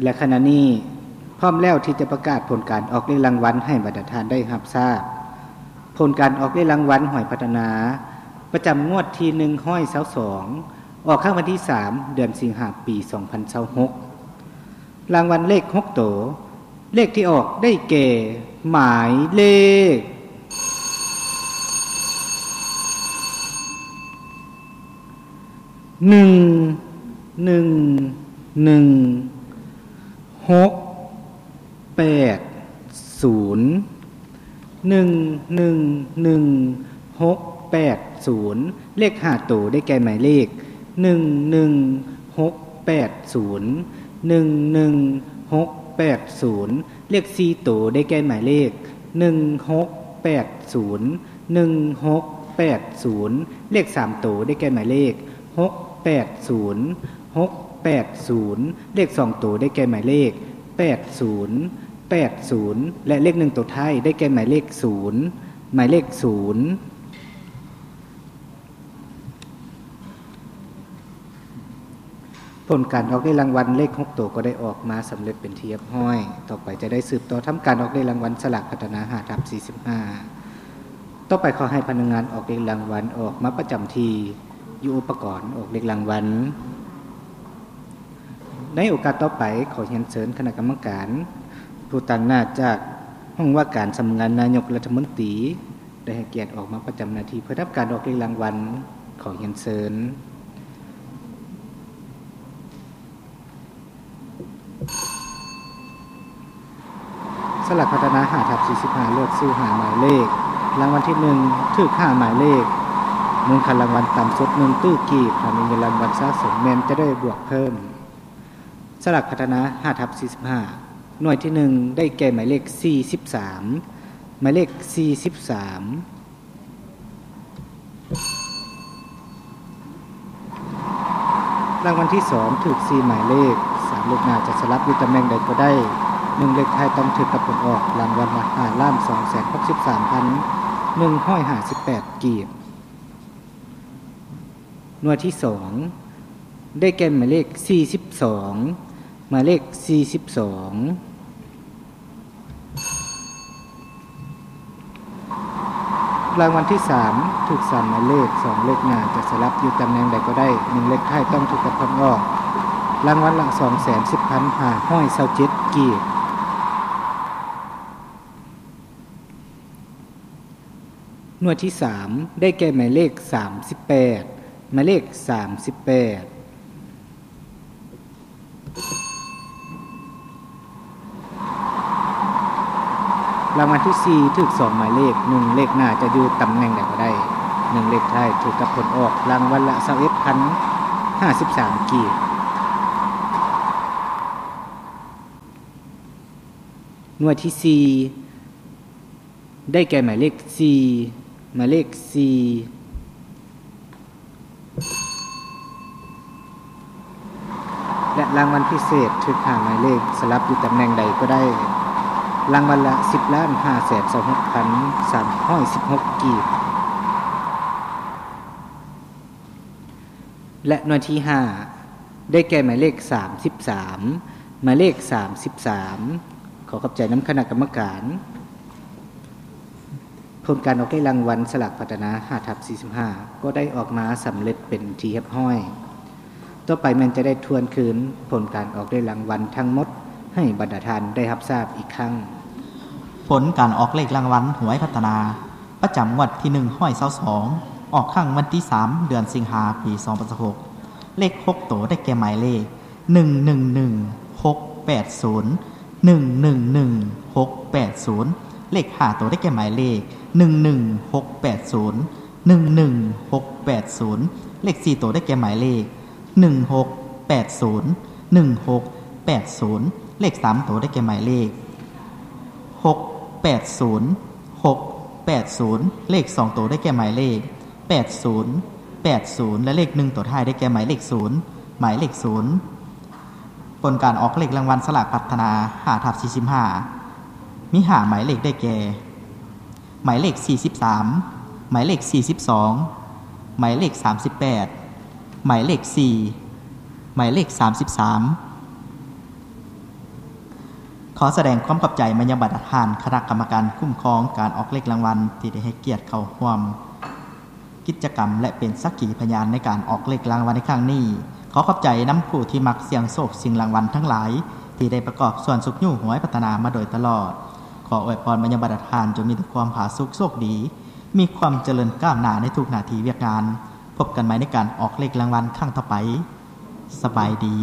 ແລະ ຂະນະນີ້ພ້ອມແລ້ວທີ່ຈະປະກາດຜົນການອອກເລກລາງວັນໃຫ້ບັນດາທ່ານໄດ້ຮັບຊາບ. ຜົນການອອກເລກລາງວັນຫວຍພັດທະນາ ປະຈຳງວດທີໜຶ່ງຮ້ອຍຊາວສອງ ອອກຄັ້ງວັນທີສາມ ເດືອນສິງຫາ ປີສອງພັນຊາວຫົກ. ລາງວັນເລກຫົກໂຕ, ເລກທີ່ອອກໄດ້ແກ່ ໝາຍເລກ ໜຶ່ງ ໜຶ່ງ ໜຶ່ງ ຫົກ ແປດ ສູນ ໜຶ່ງ ໜຶ່ງ ໜຶ່ງ ຫົກ ແປດ ສູນ. ເລກຫ້າໂຕໄດ້ແກ່ໝາຍເລກ ໜຶ່ງ ໜຶ່ງ ຫົກ ແປດ ສູນ ໜຶ່ງ ໜຶ່ງ ຫົກ ແປດ ສູນ. ເລກສີ່ໂຕໄດ້ແກ່ໝາຍເລກ ໜຶ່ງ ຫົກ ແປດ ສູນ ໜຶ່ງ ຫົກ ແປດ ສູນ. ເລກສາມໂຕໄດ້ແກ່ໝາຍເລກ ຫົກ ແປດ ສູນ ຫົກ ແປດ ສູນ. ເລກສອງໂຕໄດ້ແກ່ໝາຍເລກ ແປດ ສູນ ແປດ ສູນ ແລະ ເລກໜຶ່ງໂຕທ້າຍໄດ້ແກ່ໝາຍເລກ ສູນ ໝາຍເລກ ສູນ. ຜົນການອອກເລກລາງວັນເລກຫົກໂຕກໍໄດ້ອອກມາສຳເລັດເປັນທີ່ຮຽບຮ້ອຍ. ຕໍ່ໄປຈະໄດ້ສືບຕໍ່ທຳການອອກເລກລາງວັນສະຫຼາກພັດທະນາ ຫ້າທັບສີ່ສິບຫ້າ. ຕໍ່ໄປຂໍໃຫ້ພະນັກງານອອກເລກລາງວັນອອກມາປະຈຳທີ່ຢູ່ອຸປະກອນອອກເລກລາງວັນ. ໃນໂອກາດຕໍ່ໄປ ຂໍຮຽນເຊີນຄະນະກຳມະການຜູ້ຕາງໜ້າຈາກຫ້ອງວ່າການສຳນັກງານນາຍົກລັດຖະມົນຕີ ໄດ້ໃຫ້ກຽດອອກມາປະຈຳໜ້າທີ່ເພື່ອທຳການອອກເລກລາງວັນ. ຂໍຮຽນເຊີນ. ສະຫຼາກພັດທະນາ ຫ້າທັບສີ່ສິບຫ້າ ເລືອກຊື້ຫ້າໝາຍເລກ. ລາງວັນທີໜຶ່ງ ຖືກຫ້າໝາຍເລກ. ມູນຄ່າລາງວັນຕ່ຳສຸດ ໜຶ່ງຕື້ກີບ. ຖ້າມີເງິນລາງວັນສະສົມ ແມ່ນຈະໄດ້ບວກເພີ່ມ. ສະຫຼາກພັດທະນາ ຫ້າທັບສີ່ສິບຫ້າ ໜ່ວຍທີໜຶ່ງ ໄດ້ແກ່ໝາຍເລກສີ່ສິບສາມ ໝາຍເລກສີ່ສິບສາມ. ລາງວັນທີສອງ ຖືກສີ່ໝາຍເລກ. ສາມເລກໜ້າຈະສະຫຼັບຢູ່ຕຳແໜ່ງໃດກໍໄດ້. ໜຶ່ງເລກທ້າຍຕ້ອງຖືກກັບຜົນອອກ. ລາງວັນລະ ຫ້າລ້ານສອງແສນຫົກສິບສາມພັນໜຶ່ງຮ້ອຍຫ້າສິບແປດກີບ. ໜ່ວຍທີສອງ ໄດ້ແກ່ໝາຍເລກສີ່ສິບສອງ ໝາຍເລກສີ່ສິບສອງ. ລາງວັນທີສາມ ຖືກສາມໝາຍເລກ. ສອງເລກໜ້າຈະສະຫຼັບຢູ່ຕຳແໜ່ງໃດກໍໄດ້. ໜຶ່ງເລກທ້າຍຕ້ອງຖືກກັບຜົນອອກ. ລາງວັນລະສອງແສນສິບພັນຫ້າຮ້ອຍຊາວເຈັດກີບ. ໜ່ວຍທີສາມ ໄດ້ແກ່ໝາຍເລກສາມສິບແປດ ໝາຍເລກສາມສິບແປດ. ລາງວັນທີສີ່ ຖືກສອງໝາຍເລກ. ໜຶ່ງເລກໜ້າຈະຢູ່ຕຳແໜ່ງໃດກໍໄດ້. ໜຶ່ງເລກທ້າຍຖືກກັບຜົນອອກ. ລາງວັນລະຊາວເອັດພັນຫ້າສິບສາມກີບ. ໜ່ວຍທີສີ່ ໄດ້ແກ່ໝາຍເລກສີ່ ໝາຍເລກສີ່ ແລະ ລາງວັນພິເສດ ຖືກຫ້າໝາຍເລກ ສະຫຼັບຢູ່ຕຳແໜ່ງໃດກໍໄດ້. ລາງວັນລະສິບລ້ານຫ້າແສນຊາວຫົກພັນສາມຮ້ອຍສິບຫົກກີບ. ແລະ ໜ່ວຍທີຫ້າ ໄດ້ແກ່ໝາຍເລກສາມສິບສາມ ໝາຍເລກສາມສິບສາມ. ຂໍຂອບໃຈນຳຄະນະກຳມະການ. ຜົນການອອກເລກລາງວັນສະຫຼາກພັດທະນາ ຫ້າທັບສີ່ສິບຫ້າ ກໍໄດ້ອອກມາສຳເລັດເປັນທີ່ຮຽບຮ້ອຍ. ຕໍ່ໄປແມ່ນຈະໄດ້ທວນຄືນຜົນການອອກເລກລາງວັນທັງໝົດໃຫ້ບັນດາທ່ານໄດ້ຮັບຊາບອີກຄັ້ງ. ຜົນການອອກເລກລາງວັນຫວຍພັດທະນາ ປະຈຳງວດທີໜຶ່ງຮ້ອຍຊາວສອງ ອອກຄັ້ງວັນທີສາມ ເດືອນສິງຫາ ປີສອງພັນຊາວຫົກ. ເລກຫົກໂຕໄດ້ແກ່ໝາຍເລກ ໜຶ່ງໜຶ່ງໜຶ່ງຫົກແປດສູນ ໜຶ່ງໜຶ່ງໜຶ່ງຫົກແປດສູນ. ເລກຫ້າໂຕໄດ້ແກ່ໝາຍເລກ ໜຶ່ງໜຶ່ງຫົກແປດສູນ ໜຶ່ງໜຶ່ງຫົກແປດສູນ. ເລກສີ່ໂຕໄດ້ແກ່ໝາຍເລກ ໜຶ່ງຫົກແປດສູນ ໜຶ່ງຫົກແປດສູນ. ເລກສາມໂຕໄດ້ແກ່ໝາຍເລກ ຫົກແປດສູນ ຫົກແປດສູນ. ເລກສອງໂຕໄດ້ແກ່ໝາຍເລກ ແປດສູນ ແປດສູນ ແລະ ເລກໜຶ່ງໂຕທ້າຍໄດ້ແກ່ໝາຍເລກສູນ ໝາຍເລກສູນ. ຜົນການອອກເລກລາງວັນສະຫຼາກພັດທະນາ ຫ້າທັບສີ່ສິບຫ້າ ມີຫ້າໝາຍເລກໄດ້ແກ່ ໝາຍເລກສີ່ສິບສາມ ໝາຍເລກສີ່ສິບສອງ ໝາຍເລກສາມສິບແປດ ໝາຍເລກສີ່ ໝາຍເລກສາມສິບສາມ. ຂໍສະແດງຄວາມຂອບໃຈມາຍັງບັນດາທ່ານຄະນະກຳມະການຄຸ້ມຄອງການອອກເລກລາງວັນ ທີ່ໄດ້ໃຫ້ກຽດເຂົ້າຮ່ວມກິດຈະກຳ ແລະ ເປັນສັກຂີພະຍານໃນການອອກເລກລາງວັນໃນຄັ້ງນີ້. ຂໍຂອບໃຈນຳຜູ້ທີ່ມັກສ່ຽງໂຊກຊິງລາງວັນທັງຫຼາຍ ທີ່ໄດ້ປະກອບສ່ວນຊຸກຍູ້ຫວຍພັດທະນາມາໂດຍຕະຫຼອດ. ຂໍອວຍພອນມາຍັງບັນດາທ່ານ ຈົ່ງມີແຕ່ຄວາມຜາສຸກໂຊກດີ, ມີຄວາມຈະເລີນກ້າວໜ້າໃນທຸກໜ້າທີ່ວຽກງານ. ພົບກັນໃໝ່ໃນການອອກເລກລາງວັນຄັ້ງຕໍ່ໄປ. ສະບາຍດີ.